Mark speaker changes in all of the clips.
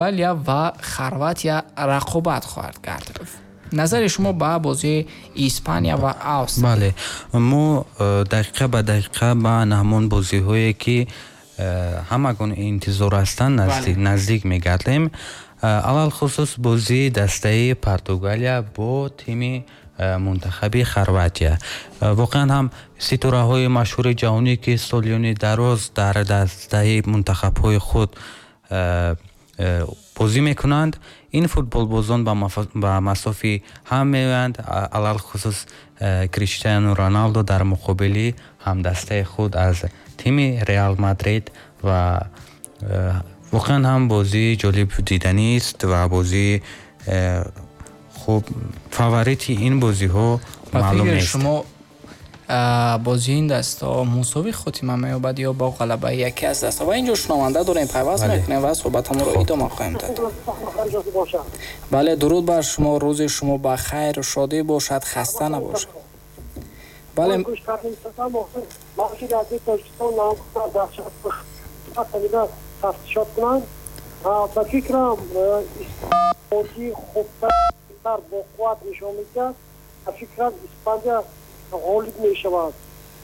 Speaker 1: Португалия ва Хорватия рақобат хоҳад кард. Назари шумо ба бозии Испания ва Австрия?
Speaker 2: Бале, мо дақиқа ба дақиқа ба ҳамон бозиҳое, ки ҳамагон интизор ҳастанд, наздик мегардем. Алалхусус бозии дастаи Португалия бо тими мунтахаби Хорватия. Воқеан ҳам ситораҳои машҳури ҷаҳонӣ, ки солиёни дароз дар дастаи мунтахабҳои худ бозӣ мекунанд, ин футболбозон ба масофи ҳам меоянд, алалхусус Криштиану Роналдо дар муқобили ҳамдастаи худ аз тими Реал Мадрид. Ва воқеан ҳам бозии ҷолиб диданист ва бозии хуб, фаворити ин бозиҳо маълум нест.
Speaker 1: Шумо, бозии ин дастаҳо мусовӣ хотима меёбад ё бо ғалабаи яке аз дастаҳо? Ва инҷо шунаванда дорем, пайваст мекунем ва суҳбатамонро идома хоҳем дод. Бале, дуруд бар шумо, рӯзи шумо ба хайру шодӣ бошад, хаста набошад. Бале.
Speaker 3: Тафтишот кунанд. Ба фикрам, бозии хубтар, бо қувват нишон медиҳад. Ба фикрам, Испания ғолиб мешавад.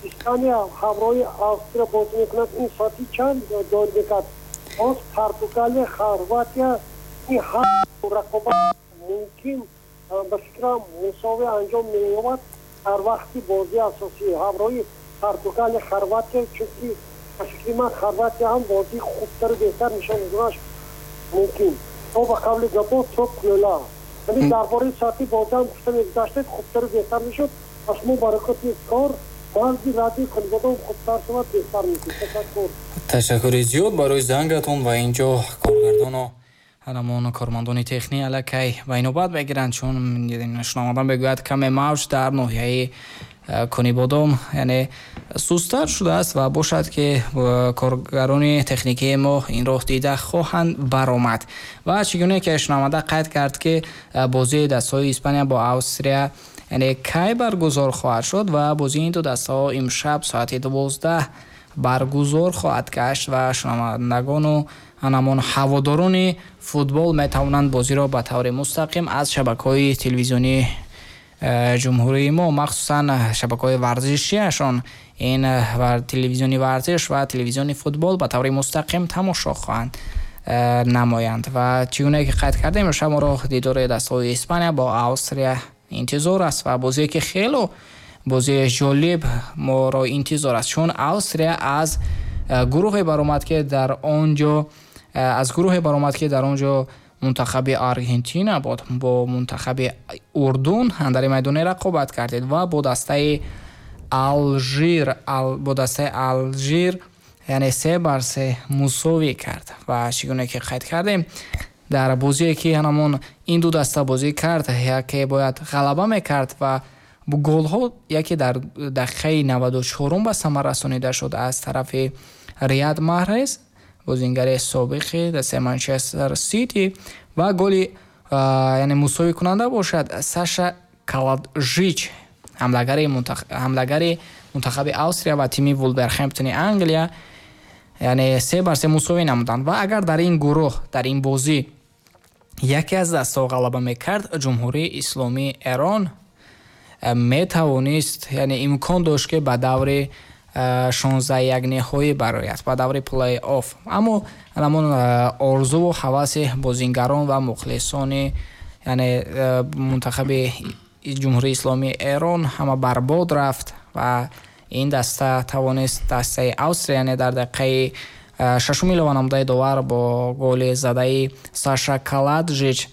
Speaker 3: Испания ҳамроҳи Австрия бозӣ мекунад. Ин соати чанд доир мекард? Боз Португалия, Хорватия, ин ҳар рақобат мумкин, ба фикрам, мусовӣ анҷом меёбад дар вақти бозии асосӣ ҳамроҳи Португалия, Хорватия, чунки ба фикри ман, Хорватия ҳам бозии хубтару беҳтар нишон доданаш мумкин. То ба қавли гапо, то кӯла. Яъне дар бораи соати бозиам гуфта мегузаштед, хубтару беҳтар мешуд. Ба шумо баракоти кор, баъзи радиои Конибодом хубтар шавад, беҳтар мешуд. Ташаккур.
Speaker 1: Ташаккури зиёд барои зангатон. Ва инҷо коргардону ҳамон кормандони технӣ аллакай ба инобат мегиранд, чун шунаванда мегӯяд, каме мавҷ дар ноҳияи Конибодом, яъне, сусттар шудааст ва бошад, ки коргарони техникии мо инро дида хоҳанд баромад. Ва чӣ гуне ки шунаванда қайд кард, ки бозии дастҳои Испания бо Австрия, яъне, кай баргузор хоҳад шуд, ва бозии ин ду дастаҳо имшаб соати 12 баргузор хоҳад гашт ва шунавандагону ҳамон ҳаводорони футбол метавонанд бозиро ба таври мустақим аз шабакаҳои телевизионии ҷумҳурии мо, махсусан шабакаҳои варзишиашон, ин телевизиони варзиш ва телевизиони футбол, ба таври мустақим тамошо хоҳанд намоянд. Ва чӣ гуне ки қайд кардем, имшаб моро дидори дастаҳои Испания бо Австрия интизор аст ва бозие, ки хело бозии ҷолиб моро интизор аст, чун Австрия аз гурӯҳе баромад, ки дар он ҷо мунтахаби Аргентина буд, бо мунтахаби Урдун андари майдоне рақобат кардед ва бо дастаи Алжир, яъне, 3 бар 3 мусовӣ кард. Ва чӣ гуне ки қайд кардем, дар бозие, ки ҳамон ин ду даста бозӣ кард, яке бояд ғалаба мекард ва голҳо яке дар дақиқаи 94-ум ба самар расонида шуд аз тарафи Рияд Маҳрез, бозингари собиқи дастаи Манчестер Сити, ва голи, яъне, мусовикунанда бошад, Саша Калайджич, ҳамлагари мунтахаби Австрия ва тими Вулверхемптони Англия, яъне, 3 бар 3 мусовӣ намуданд. Ва агар дар ин гурӯҳ, дар ин бозӣ яке аз дастаҳо ғалаба мекард, Ҷумҳурии Исломии Эрон метавонист, яъне, имкон дошт, ки ба даври 16 ниҳоӣ барояд, ба даври плей-офф. Аммо ҳамон орзуву ҳаваси бозингарон ва мухлисони, яъне, мунтахаби Ҷумҳурии Исломии Эрон ҳама барбод рафт ва ин даста тавонист дастаи Австрия, яъне, дар дақиқаи шашум илова намудаи довар бо голи задаи Саша Калайджич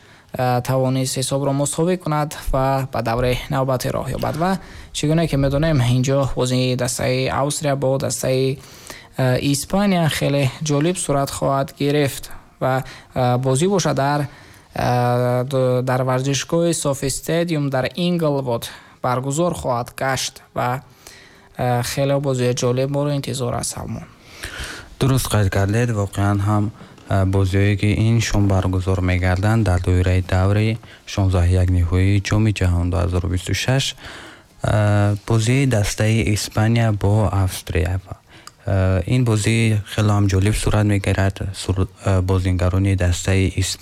Speaker 1: тавонист ҳисобро мусовӣ кунад ва ба давраи навбатӣ роҳ ёбад. Ва чӣ гуне ки медонем, инҷо бозии дастаи Австрия бо дастаи Испания хеле ҷолиб сурат хоҳад гирифт ва бозӣ бошад дар варзишгоҳи SoFi Stadium дар Инглвуд баргузор хоҳад гашт ва хеле бозии ҷолиб моро интизор аст, Салмон.
Speaker 2: Дуруст қайд кардед. Воқеан ҳам бозиҳое, ки ин шом баргузор мегарданд дар доираи даври 16 ниҳоии Ҷоми ҷаҳон 2026, бозии дастаи Испания бо Австрия. Ин бозӣ хеле ҳам ҷолиб сурат мегирад. Бозингарони дастаи